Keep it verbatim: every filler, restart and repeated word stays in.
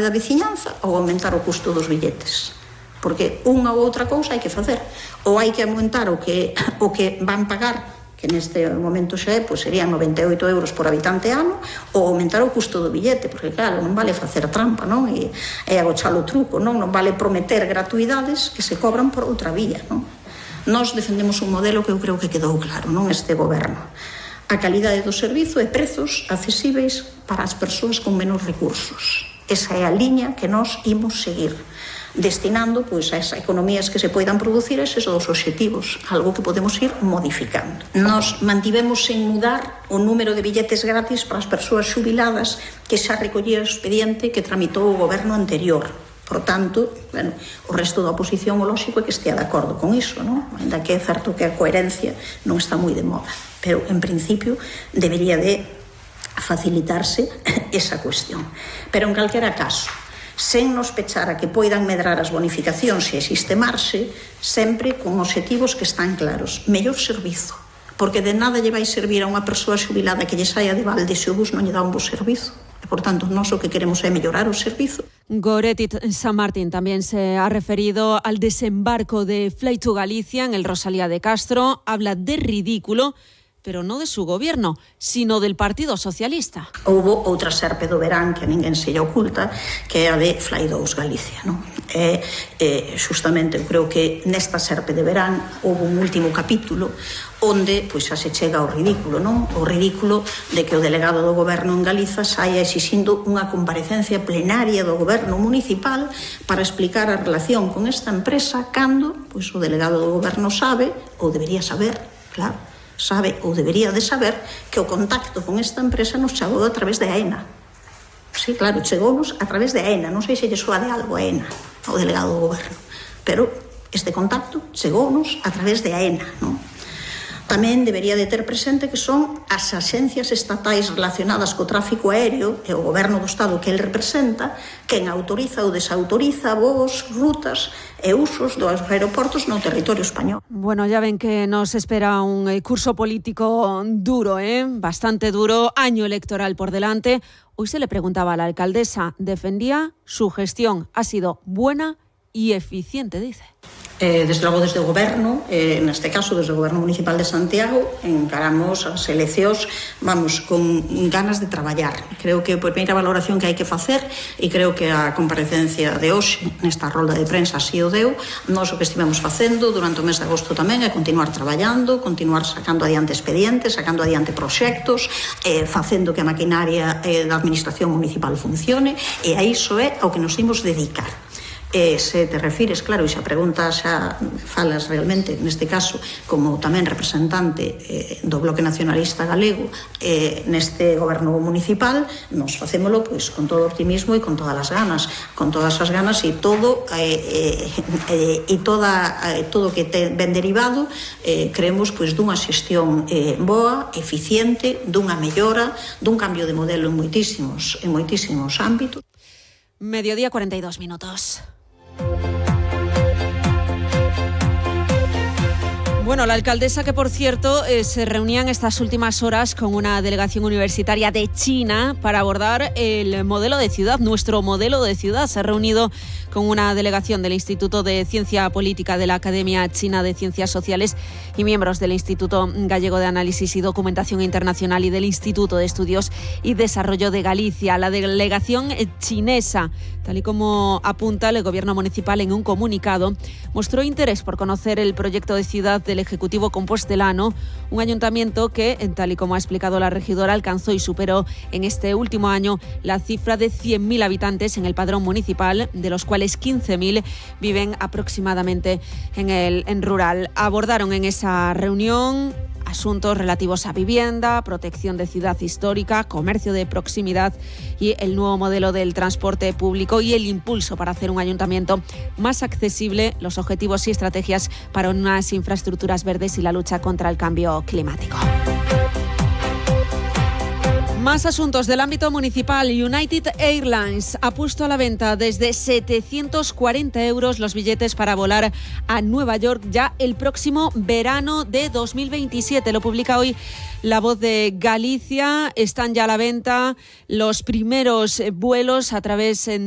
da veciñanza ou aumentar o custo dos billetes. Porque unha ou outra cousa hai que facer. Ou hai que aumentar o que, o que van pagar, que neste momento xa é, pois serían noventa e oito euros por habitante ano, ou aumentar o custo do billete, porque claro, non vale facer trampa, non? E, e agochar o truco, non? Non vale prometer gratuidades que se cobran por outra vía, non? Nós defendemos un modelo que eu creo que quedou claro, non? Este goberno. A calidade do servizo e prezos accesíveis para as persoas con menos recursos. Esa é a liña que nós imos seguir, destinando pois, a esas economías que se poidan producir eses dos obxectivos, algo que podemos ir modificando. Nos mantivemos sen mudar o número de billetes gratis para as persoas xubiladas que xa recollía o expediente que tramitou o goberno anterior. Por tanto, bueno, o resto da oposición o lóxico é que estea de acordo con iso, non? Ainda que é certo que a coherencia non está moi de moda, pero en principio debería de facilitarse esa cuestión. Pero en calquera caso, sen nos pechar a que poidan medrar as bonificacións e existe marxe, sempre con obxectivos que están claros. Mellor servizo, porque de nada lle vai servir a unha persoa xubilada que lle saia de balde se o bus non lle dá un bo servizo. E, por tanto, nós o que queremos é mellorar o servizo. Goretti San Martín también se ha referido al desembarco de Fly to Galicia en el Rosalía de Castro. Habla de ridículo, pero no de su gobierno, sino del Partido Socialista. Houbo outra serpe do verán que a ninguén se lle oculta, que é a de Fly dous Galicia, non? E, eh, justamente, eu creo que nesta serpe de verán houbo un último capítulo onde pois, xa se chega ao ridículo, non? O ridículo de que o delegado do goberno en Galiza saia exixindo unha comparecencia plenaria do goberno municipal para explicar a relación con esta empresa cando pois, o delegado do goberno sabe, ou debería saber, claro, sabe ou debería de saber que o contacto con esta empresa nos chegou a través de AENA. Sí, claro, chegounos a través de AENA. Non sei se lle soa de algo a AENA, ao delegado do goberno, pero este contacto chegounos a través de AENA, non? Tamén debería de ter presente que son as axencias estatais relacionadas co tráfico aéreo e o goberno do Estado que el representa quen autoriza ou desautoriza voos, rutas e usos dos aeroportos no territorio español. Bueno, ya ven que nos espera un curso político duro, ¿eh? Bastante duro, año electoral por delante. Hoy se le preguntaba a la alcaldesa, defendía su gestión, ha sido buena y eficiente, dice. Eh, desde logo desde o goberno, eh, neste caso desde o goberno municipal de Santiago, encaramos as eleccións, vamos, con ganas de traballar. Creo que a primeira valoración que hai que facer, e creo que a comparecencia de hoxe nesta rolda de prensa así o deu, nós o que estivemos facendo durante o mes de agosto tamén é continuar traballando, continuar sacando adiante expedientes, sacando adiante proxectos, eh, facendo que a maquinaria eh, da administración municipal funcione, e a iso é ao que nos imos dedicar. E se te refires, claro, e xa preguntas, xa falas realmente, neste caso, como tamén representante eh, do Bloque Nacionalista Galego eh, neste goberno municipal, nos facémolo pois, con todo o optimismo e con todas as ganas, con todas as ganas e todo eh, eh, e toda, eh, todo que ten ben derivado, eh, creemos pois, dunha xestión eh, boa, eficiente, dunha mellora, dun cambio de modelo en moitísimos, en moitísimos ámbitos. Mediodía, cuarenta y dos minutos. Bueno, la alcaldesa que, por cierto, eh, se reunía en estas últimas horas con una delegación universitaria de China para abordar el modelo de ciudad, nuestro modelo de ciudad. Se ha reunido con una delegación del Instituto de Ciencia Política de la Academia China de Ciencias Sociales y miembros del Instituto Gallego de Análisis y Documentación Internacional y del Instituto de Estudios y Desarrollo de Galicia. La delegación chinesa, tal y como apunta el Gobierno municipal en un comunicado, mostró interés por conocer el proyecto de ciudad del Ejecutivo compostelano, un ayuntamiento que, tal y como ha explicado la regidora, alcanzó y superó en este último año la cifra de cien mil habitantes en el padrón municipal, de los cuales quince mil viven aproximadamente en el en rural. Abordaron en esa reunión asuntos relativos a vivienda, protección de ciudad histórica, comercio de proximidad y el nuevo modelo del transporte público y el impulso para hacer un ayuntamiento más accesible, los objetivos y estrategias para unas infraestructuras verdes y la lucha contra el cambio climático. Más asuntos del ámbito municipal. United Airlines ha puesto a la venta desde setecientos cuarenta euros los billetes para volar a Nueva York ya el próximo verano de dos mil veintisiete. Lo publica hoy La Voz de Galicia. Están ya a la venta los primeros vuelos a través de